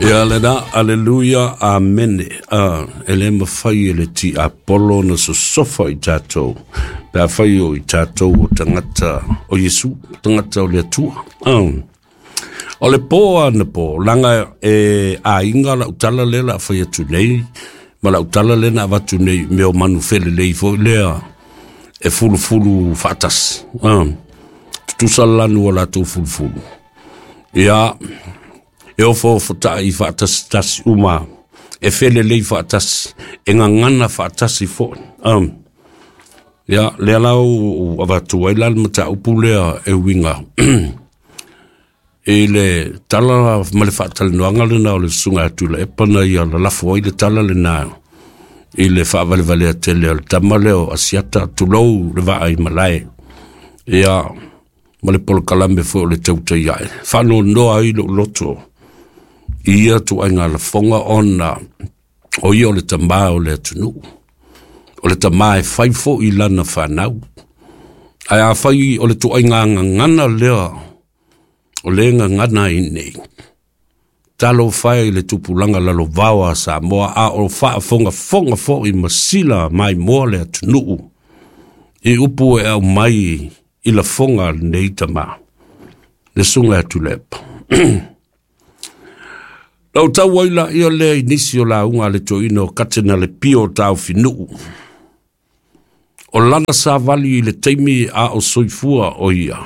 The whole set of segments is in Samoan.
Ia lena, aleluia, amene. E le mafai e le tiapolo na sosofa i tatou, pe afai o i tatou o tagata o Iesu, tagata o le Atua. O le po anapo, laga e aiga lau tala lea la fai atu nei, ma lau tala lea na avatu nei, mea o manu felelei foi lea, e fulufulu faatasi. Tutusa le lanu o latou fulufulu. Ia, e ofoofo tai faatasi uma, e felelei faatasi, e gagana faatasi foi. Ia, lea la ua avatu ai la le mataupu lea e uiga i le tala ma le faatalanoaga lena o le susuga atu Tuilaepa na ia lalafo ai le tala lena i le faavalevalea tele o le tama lea o Asiata, tulou le vaa i malae. Ia, ma le polokalame foi o le tautai ae. Faanoanoa ai lou loto i ia tuaiga lafoga ona o ia o le tamā o le atunuu. O le tamā e fai foi lana fanau. Ae afai o le tuaiga gagana lea o le gagana ai nei, talofa e i le tupulaga lalovao a Samoa, a o faafogafoga foi ma sila maimoa le atunuu i upu e aumai i lafoga a lenei tamā, le susuga ia Tuilaepa. Lau tau ai laia lea i nisi o lauga a le toeaina o Katena le Pio Taofinuu, o lana savali i le taimi a o soifua o ia,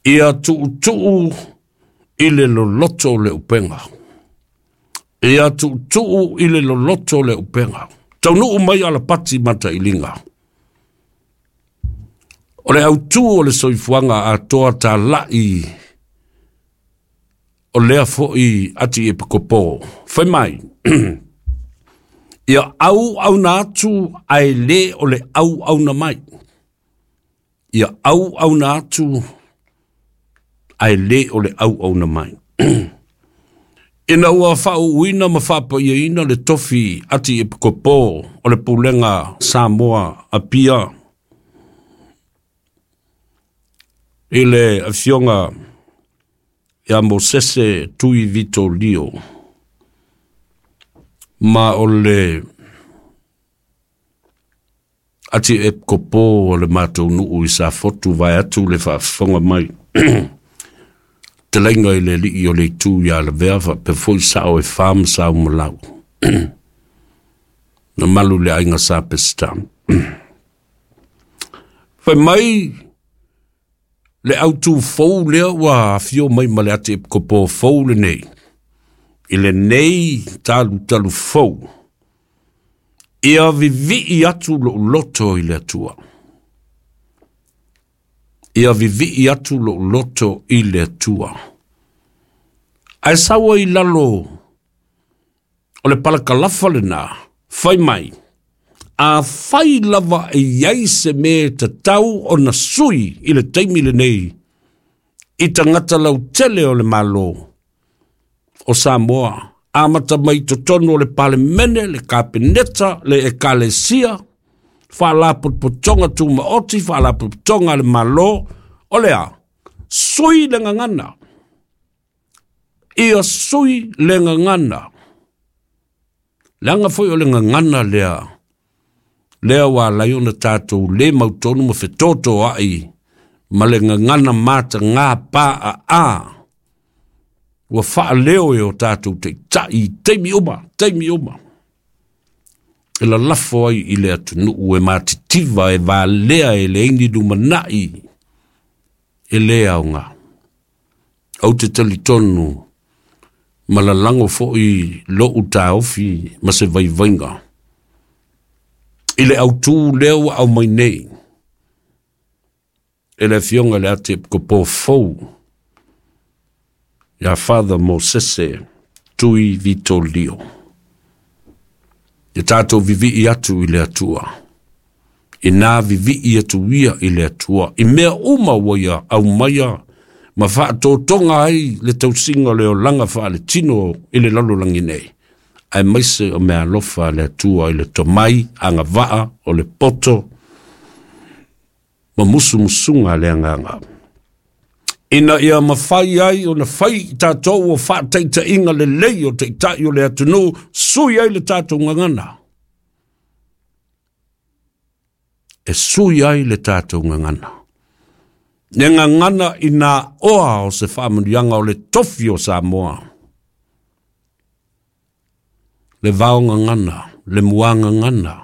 ia tuutuu i le loloto o le upega. Ia tuutuu i le loloto o le upega. Taunuu mai alapati matailiga. O le autū o le soifuaga atoa talai o lea foi ati epikopo. Fai mai, ia auauna atu ae le o le auauna mai. Ia auauna atu ae le o le auauna mai. Ina ua faauuina ma faapaiaina le tofi ati epikopo o le pulega Samoa Apia i le afioga ia Mosese Tui Vito Lio, ma o le ati epikopo o le matou nuu i Safotu vae atu le faafofoga mai. Telaiga i le alii o le itu ia Lavea faapea foi sao e fa ma sau malau. Na malu le aiga sa Peseta. Fai mai le autū fou lea ua afio mai ma le ati epikopo fou lenei, i lenei talutalu fou, ia vivii atu lou loto i le Atua. Ia vivii atu lou loto i le Atua. Ae sau ai i lalo o le palakalafa lena, fai mai, afai lava e i ai se mea e tatau ona sui i le taimi lenei i tagata lautele o le Malo o Samoa, amata mai totonu o le Palemene, le Kapeneta, le Ekalesia, faalapotopotoga tumaoti, faalapotopotoga a le Malo, o le a? Sui le gagana. Ia sui le gagana. Leaga foi o le gagana lea, lea ua ala ai ona tatou le mautonu ma fetotoai ma le gagana mataga paaa ua faaleo e o tatou taitai i taimi uma, taimi uma. E lalafo ai i le atunuu e matitiva, e valea, e leai ni lumanai, e le aoga. Ou te talitonu ma lalago foi lou taofi ma se vaivaiga i le autū lea ua aumai nei e le afioga i le ati epikopo fou ia Father Mosese Tui Vito Lio. Ia tatou vivii atu i le Atua. Ina vivii atu ia i le Atua i mea uma ua ia aumaia ma faatotoga ai le tausiga o le olaga faaletino i le lalolagi nei, aemaise o mea alofa a le Atua i le tomai agavaa o le poto ma musumusuga a le agaga. Ina ia mafai ai ona fai i tatou o faataitaiga lelei o taitai o le atunuu, sui ai le tatou gagana. E sui ai le tatou gagana. Le gagana i nā oa o se faamanuiaga o le tofi o Samoa. Le vao gagana, le mua gagana,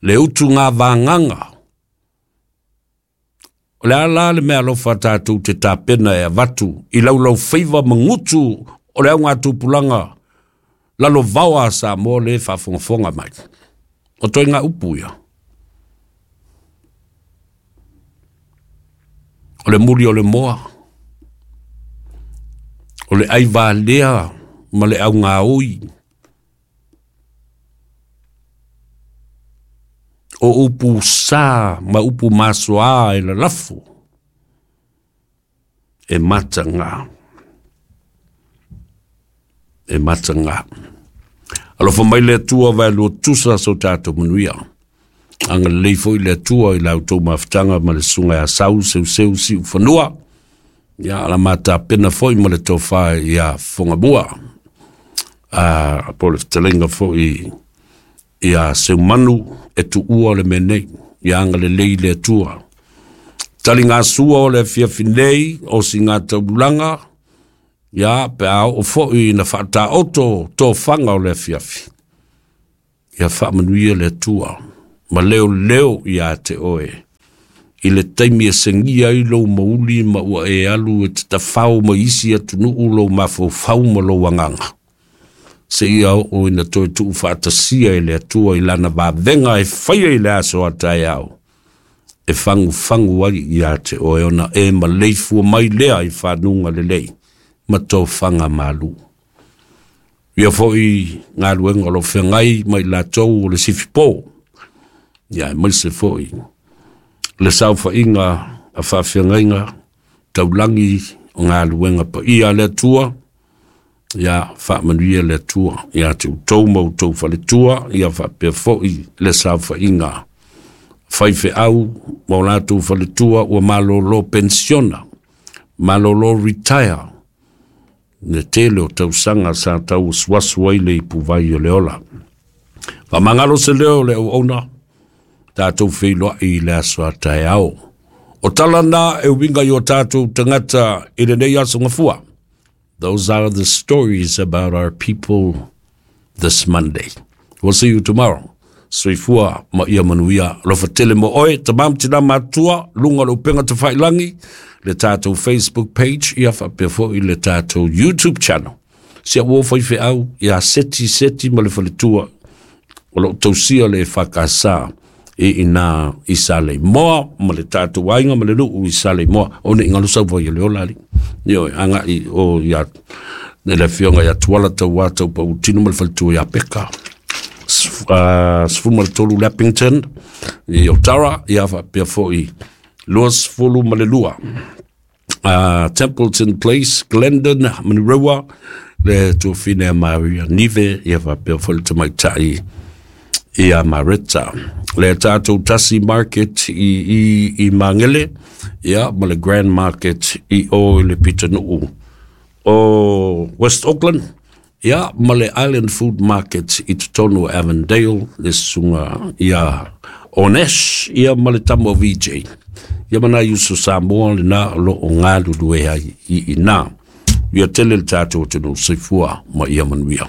le utu ngā vāgaga. O le ala le mea alofa tatou te tapena e avatu i laulau faiva magutu o le auga tupulaga lalo vaoa a Samoa le faafogafoga mai. O toe ngā upu ia. O le muli o le moa, o le aivalea ma le augaoi, o upu sa ma upu masoa e lalafu, e mataga, e mataga. Alofa mai le Atua vai lua tusa so tatou manuia. Anga lelei foi le Atua i la outou mafutaga ma le susuga ia Sau Seuseu Siufanua. Ia ala matapena foi ma le tofa ia Fogamua. A po le fetalaiga foi ia Seumanu e tuua le mea nei. Ia anga lelei le Atua. Taligasua o le afiafi nei o sigataululaga, ia pe a oo foi ina faataoto tofaga o le afiafi. Ia faamanuia le Atua ma leo leo ia te oe. I le taimi e segia ai lou mauli ma ua e alu e te tafao mai isi atunuu lou mafaufau ma lou agaga. Seia oo ina toe tuufaatasia e le Atua i lana vavega e faia i le aso a taeao. E fagufagu ai ia te oe ona e maleifua mai lea i fanuga lelei ma tofaga malu. Ia foi galuega o lo feagai mai latou o le sifipo. Ia e maise foi le saofaiga a faafeagaiga taulagi o galuega paia a le Atua. Ia faamanuia le Atua ia te outou ma outou faletua, ia faapea foi le saofaiga faifeau ma o latou faletua ua malolo pensiona, malolo retire, le tele o tausaga sa tauasuasu ai le ipuvai o le ola. Faamagalo se leo o le auauna, tatou feiloai i le aso a taeao. O tala na e uiga i o tatou tagata i lenei aso gafua. Those are the stories about our people this Monday. We'll see you tomorrow. Soifua ma ia manuia. Alofa tele mo oe, tamam tina matua, lunga le upega tafailangi, le tatou Facebook page, ia faapea foi le tatou YouTube channel. Si a ua faifeau, ia seti seti ma le faletua, o loo tausia le whakasa e ina i sa le moa, ma le tatou aiga ma le nuu i sa le moa. O ne i ngalo sau vai o le ola ali. Io, anga i o ia, le afioga ia Tuala tau a tau pau tino ma le faletua ia Peka. 13 Leppington i Otara, ia faapea foi 22. Templeton Place, Glendon, Manurewa, le tuafine a Maria Nive, ia faapea foi le tamaitai ia Mareta. Le tatou Tasi Market i Mangele, ia ma le Grand Market i o i le Pitanuu o West Auckland, ia ma le Island Food Market i totonu o Avondale, le susuga ia Onesh, ia ma le tama o VJ. Ia mana uso Samoa le na o loo galulue ai i ina. Ia tele le tatou atunuu soifua ma ia manuia.